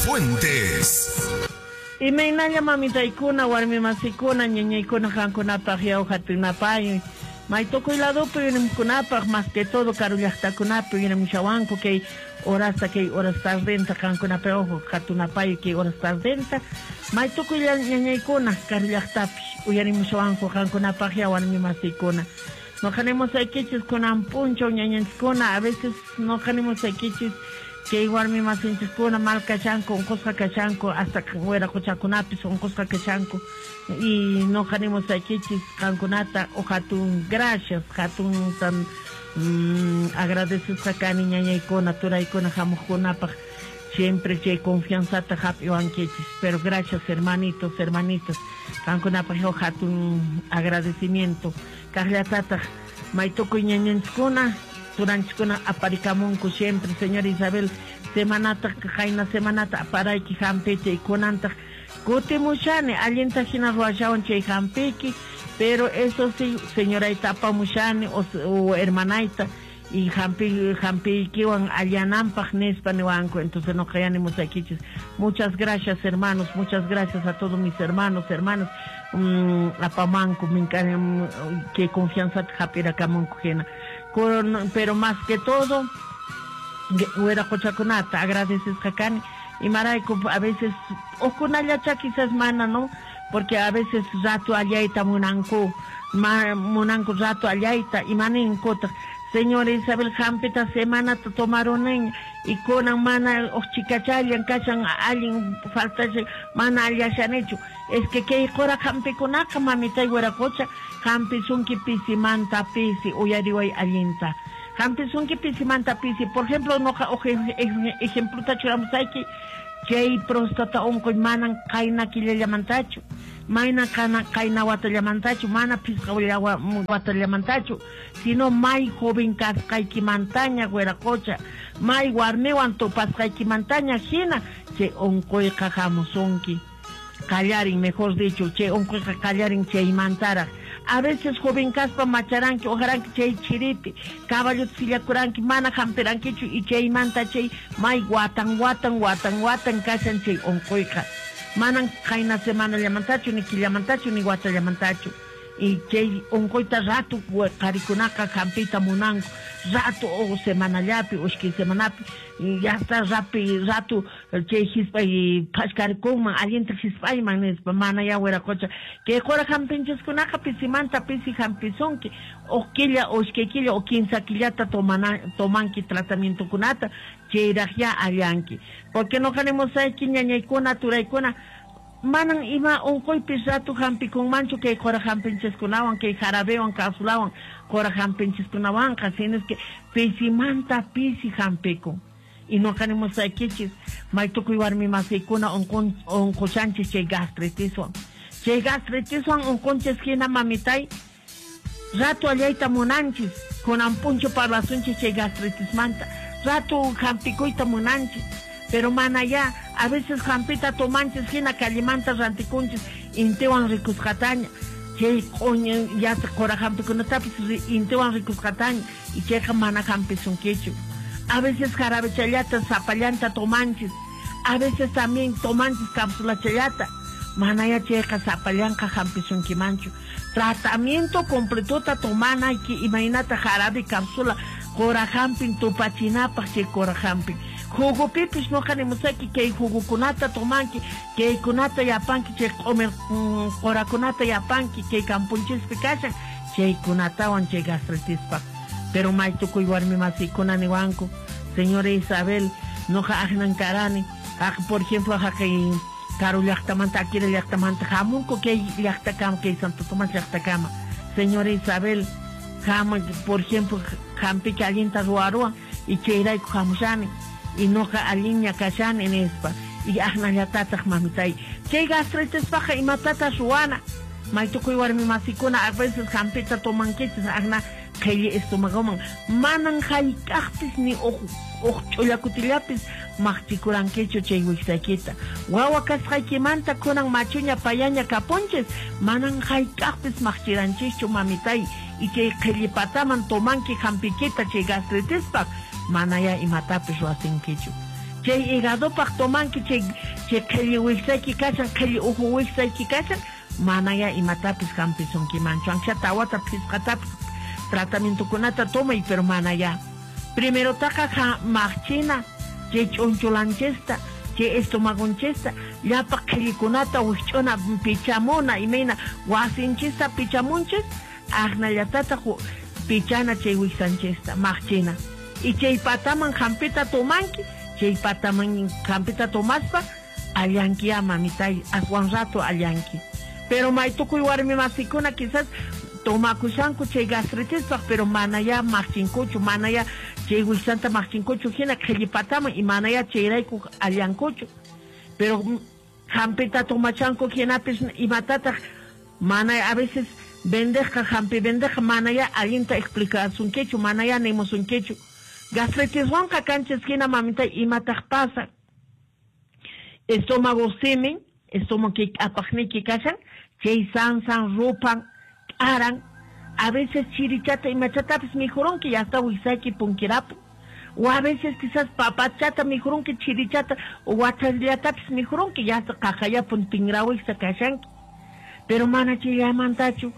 Fuentes. Imaynalla mamitaykuna, warmimasikuna, ñañaykuna qankunapaq yaw hatunapay. May tukuy ladopi uyarimuqkunapaq, más que todo karu llaqtakunapi uyarimushawanku kay horasta, kay horas tardenta qankunapaq ojo hatunapay kay horas tardenta. May tukuy ñañaykuna karu llaqtapi uyarimushawanku qankunapaq yaw warmimasikuna. Noqanimusaykichis kunan p'unchaw ñañanchiskuna, a veces noqanimusaykichis kay warmimasinchiskuna mal kashanku, unqusqa kashanku, hasta wiraquchakunapis unqusqa kashanku. Y noqanimusaykichis qankunata o hatun gracias, hatuntan agradecesqa kani ñañaykuna, turaykuna hamuqkunapaq. Siempre chay confianzata hap'iwankichis. Pero gracias, hermanitos, hermanitas. Qankunapaq yo hatun agradecimiento. Kaqllatataq may tukuy ñañanchiskuna, turanchiskuna aparikamunku siempre, señora Isabel, semanata, qayna semanata aparayki hampiyta y kunantaq kutimushani, allinta hina ruwashawan chay hampiyki, pero eso sí, señorayta apamushani o hermanayta y hampiykiwan allananpaq nispa niwanku. Entonces no musaykichis. Muchas gracias, hermanos, muchas gracias a todos mis hermanos, hermanas, apamanku, que confianza hap'irakamunku hina. Pero más que todo, wiraquchakunata agradecesqa kani. Imarayku a veces hukkunallacha quizás mana, ¿no? Porque a veces rato allayta munanku, munanku rato allayta, imaninkuta. Señora Isabel, hampita semanata tomaron y kunan mana chikachallan kashan allin falta mana allashanichu. Es que kay qura hampikunaqa mamitay wiraqucha hampisunki pisimanta pisi uyariway allinta. Hampisunki pisimanta pisi. Por ejemplo, noqa ejempluta churamusayki chay próstata unquy manan qayna killallamantachu, mayna qayna watallamantachu, mana phisqa watallamantachu, sino may joven kasqaykimantaña wiraqucha, may warmiwan tupasqaykimantaña hina chay unquyqa hamusunki. Qallarin, mejor dicho, chay unquyqa qallarin chaymantaraq. A veces joven kaspa macharanki, ojaranki chay chiripi, caballota sillakuranki, mana hampirankichu y chaymanta chay may watan watan watan watan kashan chay unquyqa. Manan qayna semanallamantachu, ni killamantachu, ni watallamantachu. Y chay unquyta rato qarikunaqa hampiyta munanku, rato o semanallapi, ushki semanapi, y ya está rapi, rato chay hispay phashkarikunman, allinta hispayman nispa, mana ya wiraqucha. Kay qura hampinchiskunaqa pisimanta pisi hampisunki, o killa, o ishkay killa, o kinsa killata tomanki tratamientokunata, chayraq ya allanki. Porque noqanimusayki ñañaykuna, turaykuna, manan ima unquypis rato hampikunmanchu kay qura hampinchiskunawan, kay jarabewan, cápsulawan, qura hampinchiskunawanqa, sino es que pisimanta pisi hampikun. Y noqanimusaykichis, may tukuy warmimasiykuna unqushanchis chay gastritiswan. Chay gastritiswan unqunchis hina mamitay, rato allayta munanchis, kunan puncho parlasunchis chay gastritismanta, rato hampikuyta munanchis. Pero mana ya, a veces hampita tomanchis hina callimanta rantikunchis, intiwan rikusqataña, chay q'uña ya qura hampikunatapis intiwan rikusqataña, y chayqa mana hampisunkichu. A veces jarabechallata, sapallanta tomanchis, a veces también tomanchis cápsulachallata, mana ya chayqa sapallanqa hampisunkimanchu. Tratamiento completota tomanayki, imaynata jarabe cápsula, qura hampin tupachinapaq chay qura hampin. Jugupipis noqanimusayki kay jugukunata tomanki, kaykunata yapanki, chay q'umir qurakunata yapanki, kay kampunchispi kashan, chaykunatawan chay gastritispaq. Pero may tukuy warmimasiykuna niwanku, señora Isabel, noqa aqnan karani, por ejemplo, haqay karu llaqtamanta, akira llaqtamanta, hamunku kay llaqtakama, kay Santo Tomás llaqtakama. Señora Isabel, por ejemplo, hampiki allinta ruwaruwan, y chayrayku hamushani. Y noqa allinña kashani nispa. Y aqnallatataq mamitay. Chay gastritispaqa imatata ruwana. May tukuy warmimasikuna a veces hampita tomankichis aqna qhilli estomagoman. Manan hayk'aqpis ni uq ch'ullakutillapis maqchikurankichu chay wiksaykita. Wawa kasqaykimanta kunan machuña payaña kapunchis, manan hayk'aqpis maqchiranchischu mamitay. Y chay qhillipataman tomanki hampikita chay gastritispaq, mana ya imatapis ruwasinkichu. Chay hígadopaq tomanki, chay chay qhilli wiksayki kashan, qhilli uhu wiksayki kashan, manaya imatapis hampisunkimanchu. Aunque tawata phisqatapis tratamientokunata tomay, pero manaya. Primerotaqa maqchina, chay ch'unchulanchista, chay estomagonchista, llapa qhillikunata wikch'una pichamuna, imayna wasinchista pichamunchis, aqnallatataq pichana chay wiksanchista, maqchina. Y chay pataman hampita tomanki, chay pataman hampita tomaspa, allanki ya mamitay, aswan rato allanki. Pero maytukuy warmi masikuna quizás tomakushanku chay gastritispaq, pero manaya maqchinkuchu, manaya chay wiksanta maqchinkuchu hina qhillipataman y manaya chayrayku allankuchu. Pero hampita tomachanku hinapis imatataq mana a veces vendeja hampi vendeja manaya allinta explicasunkichu, manaya nimusunkichu. Gastritiswanqa kanchis hina mamita imataq pasa. Estómago simin, estómago k'apaqniyki kashan, chay sansan rupan, k'aran, a veces chirichata imachatapis mikhurunki y hasta wiksayki punkirapun. O a veces quizás papachata mikhurunki, chirichata o wachasllatapis mikhurunki y hasta qaqayapun tinrawiksa kashanki. Pero mana chayllamantachu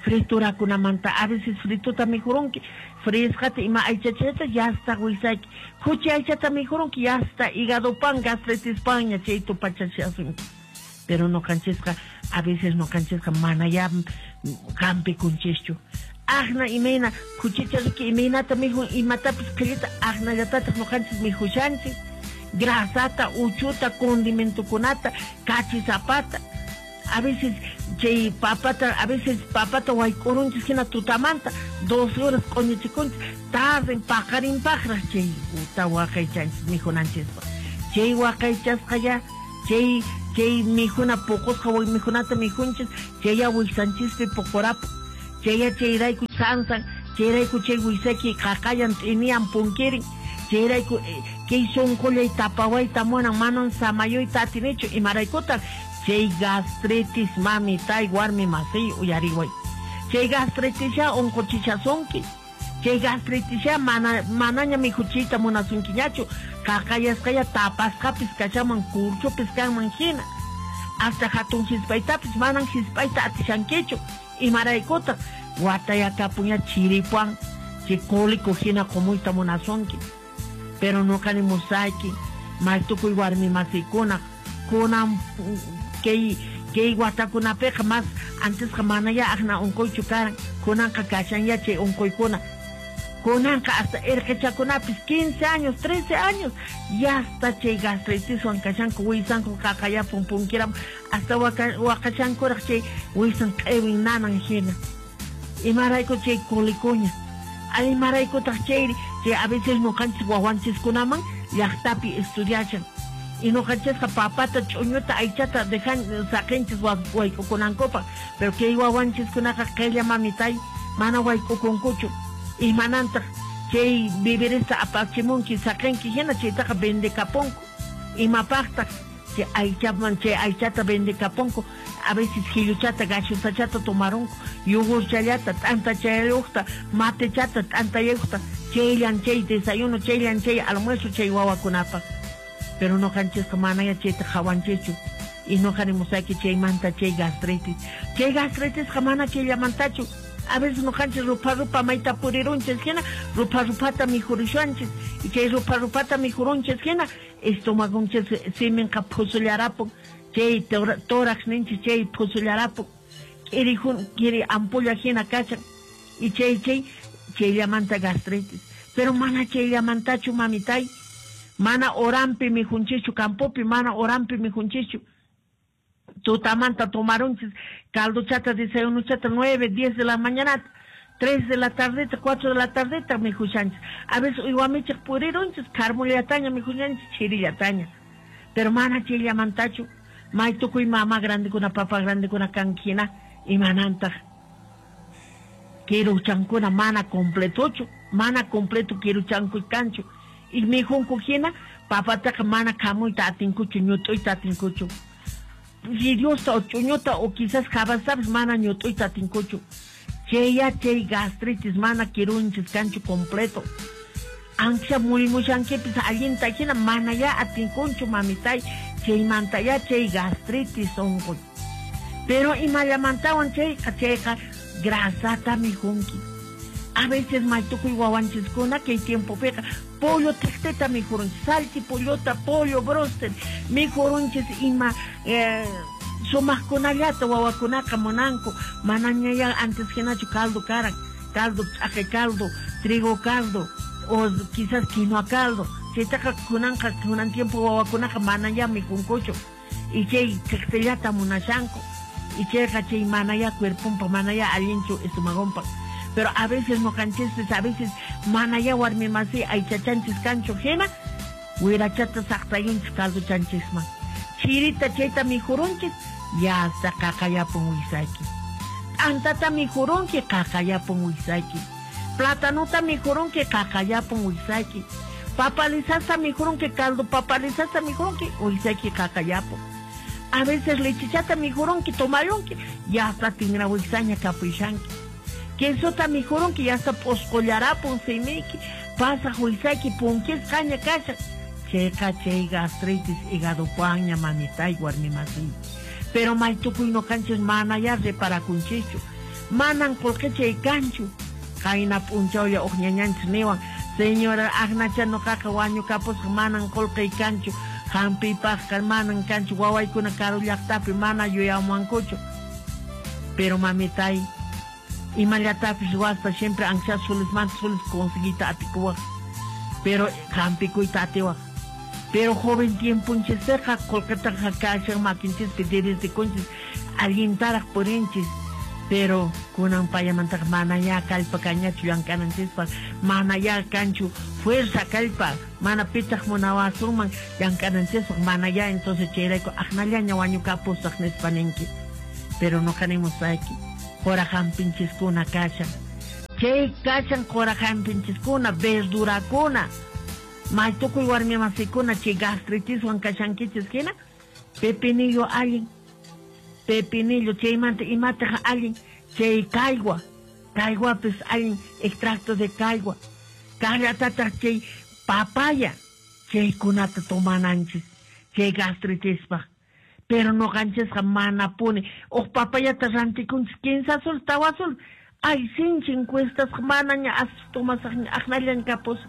friturakunamanta, a veces frituta mikhurunki, frisqata ima aychachata ya hasta wiksayki, khuchi aychata mikhurunki ya hasta hígado pan, gastritis paña chay tupachashasunki. Pero noqanchisqa a veces noqanchisqa mana ya hampikunchikchu. Aqna imayna khuchicha riki imaynata mikhun imatapis qhillita aqnallatataq noqanchis mikhushanchik. Grasata, uchuta, condimentokunata, kachisapata. A veces chay papata, a veces papata wayk'urunchis hina tutamanta, 12 horas q'uñichikunchis, tarden paqarinpaqraq chay uta waqaychanchis mikhunanchispaq. Chay waqaychasqa ya, chay chay mikhuna puqusqa mikhunata mikhunchis, chaya wiksanchispi puqurapun. Chaya chayrayku sansan, chayrayku chay wiksayki qaqayan t'iniyan punkirin, chayrayku kay sunqullay tapawayta munan, manan samayuyta atinichu, imaraykutaq chay gastritis mamitay warmi masiy uyariway. Chay gastritis ya unquchichasunki. Chay gastritis ya mana manaña mikhuchiyta munasunkiñachu, qaqayasqaya tapasqapis kashaman kurchupis kanman hina. Hasta hatun hispaytapis manan hispayta atishankichu. Imaraykutaq watayakapuña chiripuan, chay cólico hina qumuyta munasunki. Pero nuqani musayki, maytukuy warmi masikuna, kunan kay kay watakunapiqa mas antesqa manaya aqna unquychu karan, kunanqa kashan chay unquykuna. Kunanqa hasta irqichakunapis 15 años, 13 años, ya hasta chay gastritiswan kashanku, wiysanku qaqayapun punkiram, hasta waqashankuraq chay wiysan q'iwin nanan hina. Imarayku chay colikuña. Imaraykutaq chayri, chay a veces nuqanchis wawanchiskunaman llaqtapi estudiashan. Y nuqanchisqa papata, ch'uñuta, aychata dejan saqinchis wayk'ukunankupaq, pero kay wawanchiskunaqa qhilla mamitay mana wayk'ukunkuchu. Imanantaq chay vivirista apachimunki saqinki hina chaytaqa vendekapunku. Imapaqtaq chay aychaman chay aychata vendekapunku, a veces hilluchata, gachusachata tomarunku, yogurchallata, t'antachayuqta, matechata, t'antayuqta, chayllan chay desayuno, chayllan chay almuerzo chay wawakunapaq. Pero nuqanchisqa manaya chayta qhawanchischu. Y nuqani musayki chaymanta chay gastritis. Chay gastritisqa mana chayllamantachu. A veces nuqanchis rupa rupa mayta purirunchis hina, rupa rupata mikhurushanchis. Y chay rupa rupata mikhurunchis hina, estomagonchis siminqa phusullarapun. Chay tórax ninchis chay phusullarapun. K'iri ampulla hina kashan. Y chay chay chayllamanta gastritis. Pero mana chayllamantachu mamitay. Mana orampi mikhunchichu, campopi mana orampi mikhunchichu. Tutamanta tomarunchis caldochata, desayunochata, 9, 10 de la mañana, 3 de la tardeta, 4 de la tardeta mikhushanchis. A veces uywamichik purirunchis, carmullataña mikhushanchis, chirillataña. Pero mana chayllamantachu, may tukuy mama grandekuna, papa grandekuna kankina, imanantaq kiruchankuna mana completochu, mana completo kiruchankuy kanchu. Y mikhunku hina, papataqa mana khamuyta atinkuchu, ñut'uyta atinkuchu. Fidiosta o ch'uñuta o quizás jabastapis mana ñut'uyta atinkuchu. Chaya chay gastritis mana kirunchis kanchu completo. Ancha muymushankipis allinta hina manayá atinkunchu mamitay, chaymantayá chay gastritis unquy. Pero imallamantawan chayqa grasata mijunki. A veces maytukuy wawanchiskuna kay tiempopiqa pollo tiqtita mijurunchis, salchi pollota, pollo broster mijurunchis ima sumaqkunallata wawakunaqa munanku, manañayá antes hinachu caldo karan, caldo ch'aqi caldo, trigo caldo o quizás quinoa caldo, chaytaqa kunanqa kunan tiempo wawakunaqa manayá mijunkuchu y chay tiqtillata munashanku y chayqa chay manayá cuerponpa manayá allinchu estomagonpa. Pero a veces noqanchispis a veces manayá warmi masi aychachanchis kanchu hina wirachata saqtayunchis caldochanchisman chirita chayta mijurunchis ya hasta qaqayapun wisayki, t'antata mijurunki qaqayapun wisayki, platanuta mijurunki qaqayapun wisayki, papalisasta mijurunki caldo papalisasta mijurunki wisayki qaqayapun. A veces lechichata mijurunki tomayunki ya hasta tingra wisaña kapuyashanki. Quesota mijurunki ya hasta p'usqullarapun simiyki pasaq wisayki punkisqaña kashan. Chayqa chay gastritis hígadopaña mamitay warmi masiy. Pero maytukuy noqanchis manayá reparakunchischu, manan qullqichay kanchu. Qayna p'unchawlla uq ñañanchis niwan, señora Agnacha noqaqa wañukapusqa manan qullqiy kanchu, hampiypaqqa manan kanchu, wawaykuna karu llaqtapi mana yuyamuwankuchu. Pero mamitay, imallatapis ruwaspa siempre ancha sulismanta sulis conseguiyta atikuwaq, pero hampikuyta atiwaq. Pero joven tiemponchispiqa qullqitaqa kashan makinchispi debesdikunchis allintaraq purinchis. Pero kunan payamantaqa manayá kallpa kañachu llank'ananchispaq, manayá kanchu fuerza kallpa, mana pitaq munawasunman llank'ananchispaq, manayá entonces chayrayku aqnallaña wañukapusaq nispa ninki. Pero noqa nimusayki, qura hampinchiskuna kashan, chay kashan qura hampinchiskuna, verdurakuna. Maytukuy warmi masikuna chay gastritiswan kashankichis hina, pepinillo allin, pepinillo chaymanta imataq allin, chay caigua, caiguapis allin, extracto de caigua, kaqllatataq chay papaya, chaykunata tomananchis, chay gastritispaq. Pero noqanchisqa manapuni, uq papayata rantikunchis 15 sol, 4 sol, ay sinchin cuestasqa manaña as tomasaqña aqnallan kapusaq.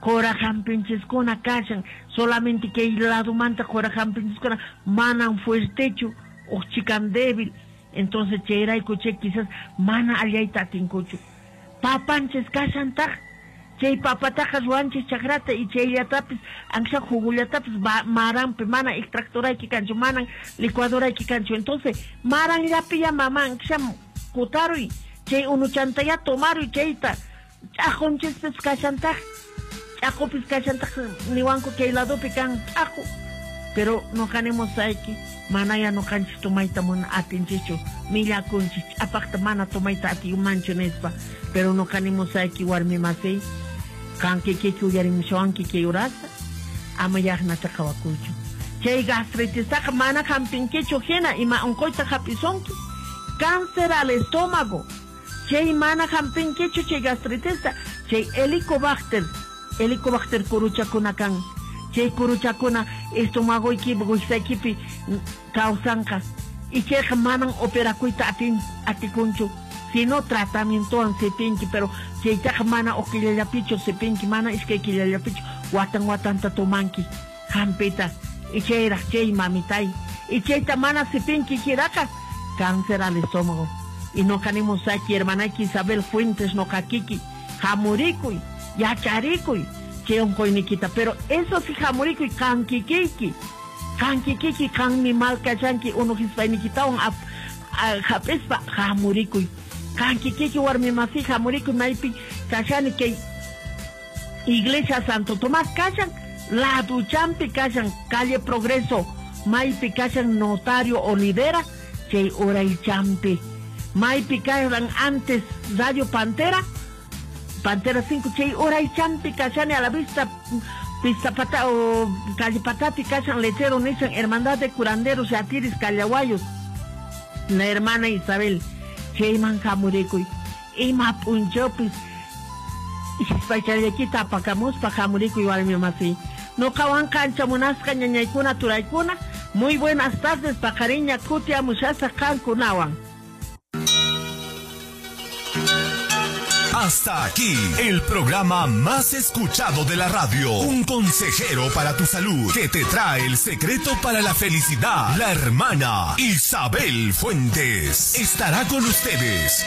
Qura hampinchiskuna kashan, solamente kay ladomanta qura hampinchiskuna manan fuertechu, uq chikan débil, entonces chayrayku chay quizás mana allayta atinkuchu. Papanchis kashantaq, chay papataqa ruwanchis chakrata y chayllatapis ancha jugullatapis maranpi mana extractorayki kanchu, manan licuadorayki kanchu, entonces maranllapi ya mama ancha kutaruy, chay unuchantaya tomaruy chayta, ch'aqunchispis kashantaq. Ch'aqupis kashantaq niwanku kay ladopi kan ch'aqu, pero noqanimusayki manaya noqanchis tomayta mana atinchischu, millakunchis ch'apaqta mana tomayta atiyumanchu nispa. Pero noqanimusayki warmi masiy, qan kikiki uyarimushawanki kay urasta, ama yaqnacha qhawakuychu. Chay gastritistaqa mana hampinkichu hina ima unquyta hap'isunki, cáncer al estómago, chay mana hampinkichu chay gastritista, chay helicobacter, helicobacter kuruchakuna kan, chay kuruchakuna estomagoykipi wisaykipi kawsanqa y chayqa manan operakuyta atikunchu, sino tratamientowan sipinki, pero chaytaqa mana uq killallapichu sipinki, mana iskay killallapichu, watan watanta tomanki hampita y chayraq chay mamitay y chayta mana sipinki hinaqa cáncer al estómago. Y noqanimusayki hermanayki Isabel Fuentes noqakiki hamurikuy, yacharikuy chay unquynikita, pero eso sí hamurikuy qankikiyki, qankikiki qanmi mal kashanki unu hispaynikitawan hap'ispa hamurikuy, qankikiki warmi masi hamurikuy maypi kashani kay Iglesia Santo Tomás kashan, laduchampi kashan, calle Progreso, maypi kashan Notario Olivera, chay uraychampi, maypi kashan antes Radio Pantera, Pantera 5, chay uraychampi kashani a la vista, pista pata o calle Patati kashan letrero nishan Hermandad de Curanderos y Atiris Callahuayos, la hermana Isabel, chayman hamurikuy, ima p'unchawpis P'achallaykita apakamuspa hamurikuy warmi masiy. Nuqawanqa ancha munasqa ñañaykuna turaykuna. Muy buenas tardes, paqariña kutiamushasaq qankunawan. Hasta aquí, el programa más escuchado de la radio. Un consejero para tu salud que te trae el secreto para la felicidad. La hermana Isabel Fuentes estará con ustedes.